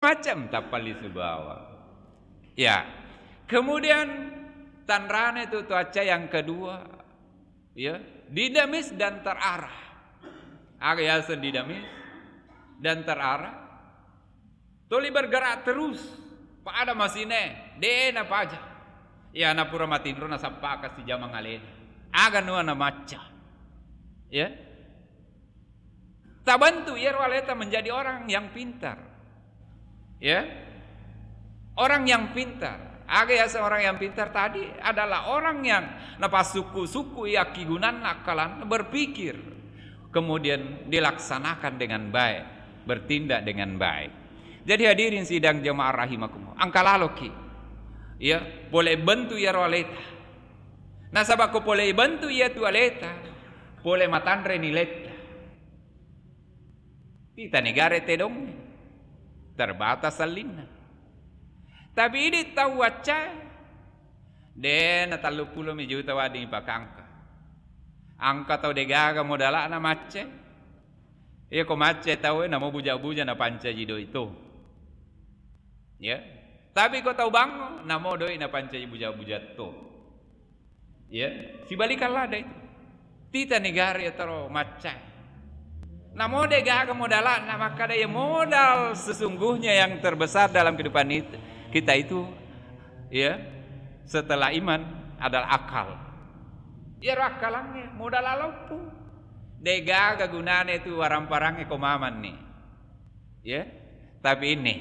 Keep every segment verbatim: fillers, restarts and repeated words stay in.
macam tappallisu bawang. Ya. Kemudian tanrane tu cuaca yang kedua, ya, dinamis dan terarah. Aga yaseng dinamis dan terarah? Tuli bergerak terus. Pada masine, de' napaja. Ya, napura matinro nasappaka sijamang alena. Aga nua namacca. Ya. Tabentuk iyaro aleta menjadi orang yang pintar. Ya. Orang yang pintar. Aga yaseng orang yang pintar tadi adalah orang yang napassukku-sukku iya akkigunanna akkalanna, berpikir, kemudian dilaksanakan dengan baik, bertindak dengan baik. Jadi hadirin sidang jemaah rahimakumullah, engka laloki, ya, pole bentuk iyaro aleta. Nasaba ko pole bentuk iyatu aleta, pole matanre niletta. Tita negara tedong, terbatas sallinna. Tapi idi tau waccae, de' na telluppulo mi juta wedding ipakangka. Engka tau degaga modala'na macce. Iya ko macce tau e, namo buja-buja napancaji doi to. Ya. Tapi ko tau bangngo, namo doi napancaji buja-buja to. Ya, sibalikan lada itu. Tita negara iya taro maccae. Namo degaga modala'na, makkada iya modal sesungguhnya yang terbesar dalam kehidupan itu, kita itu, ya, setelah iman adalah akal. Iyaro akkalangnge modal aloppo. Degaga gunana itu waramparangnge ko mamanni. Ya, tapi ini,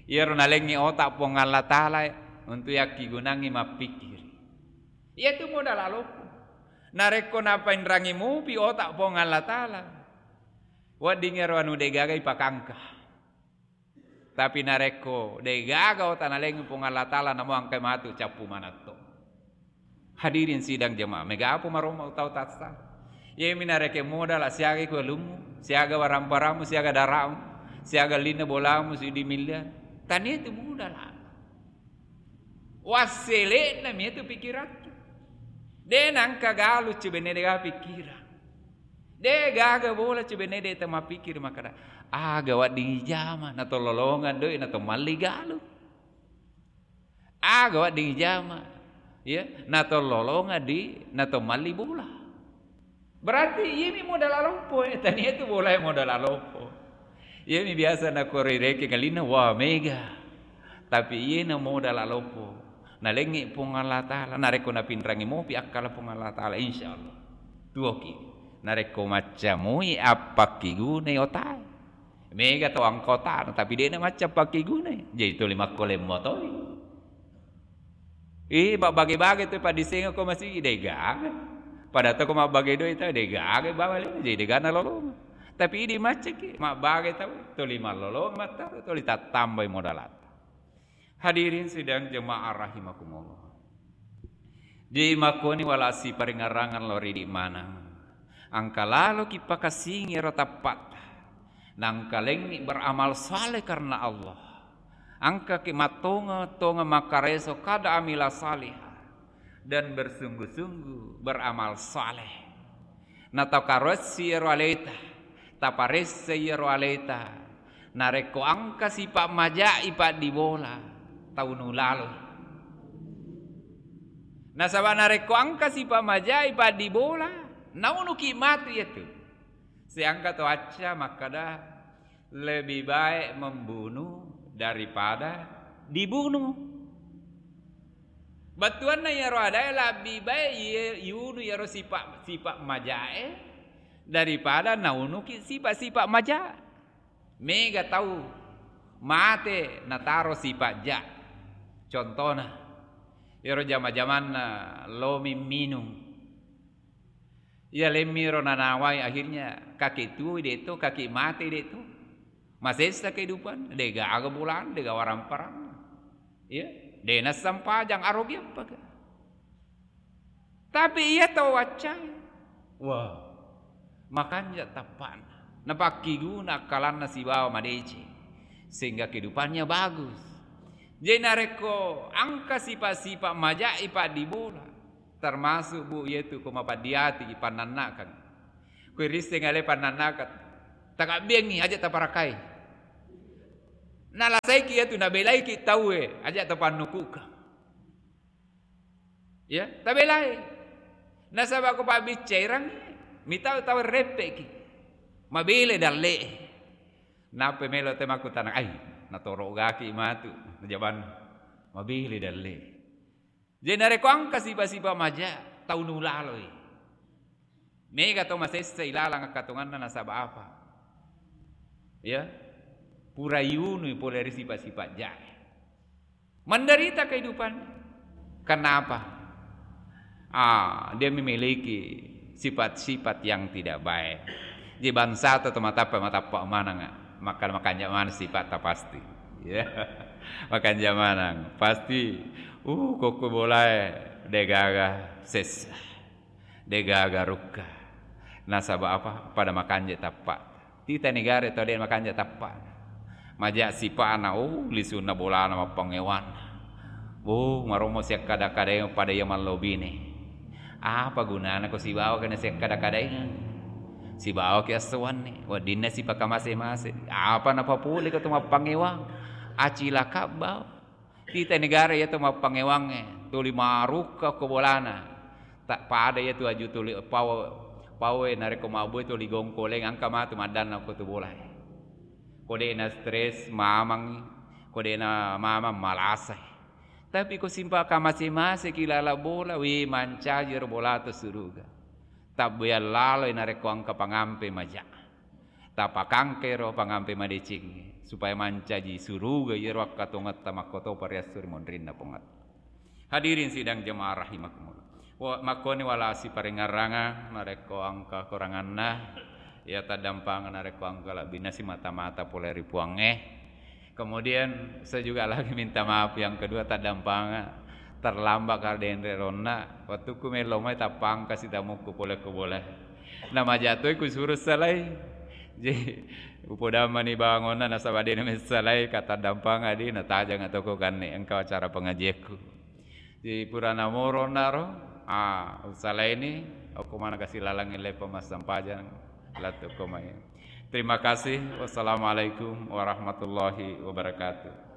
iyaro nalengngi otak Puang Allah Ta'ala untuk yakkigunangngi mappikiri. Iyatu modal aloppo. Narekko napainrangi mupi otak Puang Allah Ta'ala, wedding ero anu degaga ipakangka. Tapi narekko degaga otak nalengngi Puang Allah Ta'ala, namo engkai matu cappu manatto. Hadirin sidang jemaah, mega apa maromma tau tassa. Iyami narekeng modala siaga ku alummu, siaga waramparamu, siaga daramu, siaga linna bolamu, sidi miliar. Tania itu modala. Wassele'na mi itu pikirattu. De' nangka galu cibenne degaga pikkirang. De' gaga bola cibenne de' tamapikkiri makkada, aga wedding ijama, natollolongang doi, natomalli galu. Aga wedding ijama, ya, natollolongang di, natomalli bola. Berarti iyami modal aloppo, eh, tania itu bola modal aloppo. Iyami biasa nakko rirekeng alinna, wah, mega. Tapi iyena modal aloppo. Nalengngi Puang Allah Ta'ala, narekko napinrangi mopi akkala Puang Allah Ta'ala, insya Allah. Tuoki. Narekko maccamui appakkigunai otae. Mega tau angka otana, tapi de'na macca appakkigunai. Jadi tuli makkolemmo toi. Ih, mabbage-bage tu paddisengeng ko masigi, degaga. Pada to ko mabbage doi ta, degaga bawale, jadi degana lolong. Tapi idi maccaki, mabbage tau, tuli mallolong mattaro, tuli tattambai modalatta. Hadirin sidang jemaah rahimakumullah. Jadi makkoni wala siparingarrangan lao ridi maneng. Angka laloki pakasingi ero tappatta. Nangkalengngi beramal saleh karena Allah. Angkaki mattonga-tonga makkareso kada amila salihah dan bersungguh-sungguh beramal saleh. Natakaressi ero aleta, taparessai ero aleta. Narekko angka sipa maja'i paddibola, tau nulaloi. Nasaba narekko angka sipa maja'i paddibola, naunuki matu iyatu. Seangka to acca makkada, lebih baik membunuh daripada dibunuh. Bettuanna iyaro adae, lebih baik iye-, iyunu iyaro sipa, sipa majae daripada naunuki sipa-sipa maja. Mega tau mate nataro sipa ja. Contona, iyaro jama-jamanna lomi minung. Iya lemmi ro nanawai, akhirnya kaki tuo de to, kaki mate de to. Masessa kehidupan, de gaga bolan, de gaga waramparang. Iya, de nassempajang, arogi appaka. Tapi iya tau waccai. Wah, makanja tappana. Napakkiguna akkalanna sibawa madeceng. Sehingga kehidupannya bagus. Jadi narekko angka sipa-sipa majai paddibola, termasuk, Bu, iyatu ko mapaddiati pannannakang. Ko risseng ale pannannakang, takabbiangngi aja taparakai. Nalasaiki iyatu, nabelaiki tauwe, aja' tapannukukang. Ya, tabelai. Nasaba' ko pabbiccairang, mitau tau reppe'ki. Mabele dalle'e. Nappa melo te makkutana, ai, natoro'gaki matu, najabanna. Mabele dalle'e. Jadi narekko engka sipa-sipa maja, tau nulaloi. Mega to masessa ilalang akkatonganna nasaba' apa? Ya. Pura iunui pole ri sipa-sipa jae. Menderita kehidupan. Kenapa? Ah, dia memiliki sifat-sifat yang tidak baik. Jadi bangsa atau matappa-matappa manang, maka makanja maneng sifatta pasti. Ya. Makanja maneng. Pasti, uh, kokko bolae degaga sessa. Degaga rukka. Nasaba' apa? Pada makanja tappa. Tita negara tau de' makanja tappa. Maja' sipa'na, oh, lisunna bolana mappangewang. Oh, marommo siakkada-kadaeng pada iya mallobine. Apa gunana ko sibawa kena siakkada-kadaeng? Sibawa ki assoanni, weddinna sipakamase-mase. Apa napapole ko tu mappangewang? Acilaka bawa. Tita negara iya to mappangewangnge, tuli marukka ko bolana. Tak pada iya tu aju tuli pawa, pawe narekko mabbue tuli gongkoleng engka matu maddanna ko tu bolae. Ko de'na stres mamang, ko de'na mamang malasai. Tapi ko simpa kamase-maseki lala bola, wi mancaji ro bola to suruga. Tabbeang laloi narekko engka pangampe maja. Tapakangkero pangampe madeceng, supaya mancaji suruga iyaro akkatongetta makkotopa riassu ri monrinna Puangetta. Hadirin sidang jemaah rahimakumullah. Wa-, makkoni wala siparengngerranga narekko engka koranganna, iya taddampanga narekko engka lebbinna simata-mata pole ri Puangnge. Kemudian saya juga lagi minta maaf yang kedua, taddampanga terlambat karena denre ronna, wettukku melo mai tappangka sitamukku pole ko bola. Na majatoi ku suruh salai. Jadi, upodammani bawangonna nasaba' de'na messalai, ka taddampanga di natajang atau ko kanne engka acara pengajianku. Jadi, purana moro naro, ah, usalaini, okko mana kasi lalang ile pemasampajang, lattu ko mai. Terima kasih. Wassalamualaikum warahmatullahi wabarakatuh.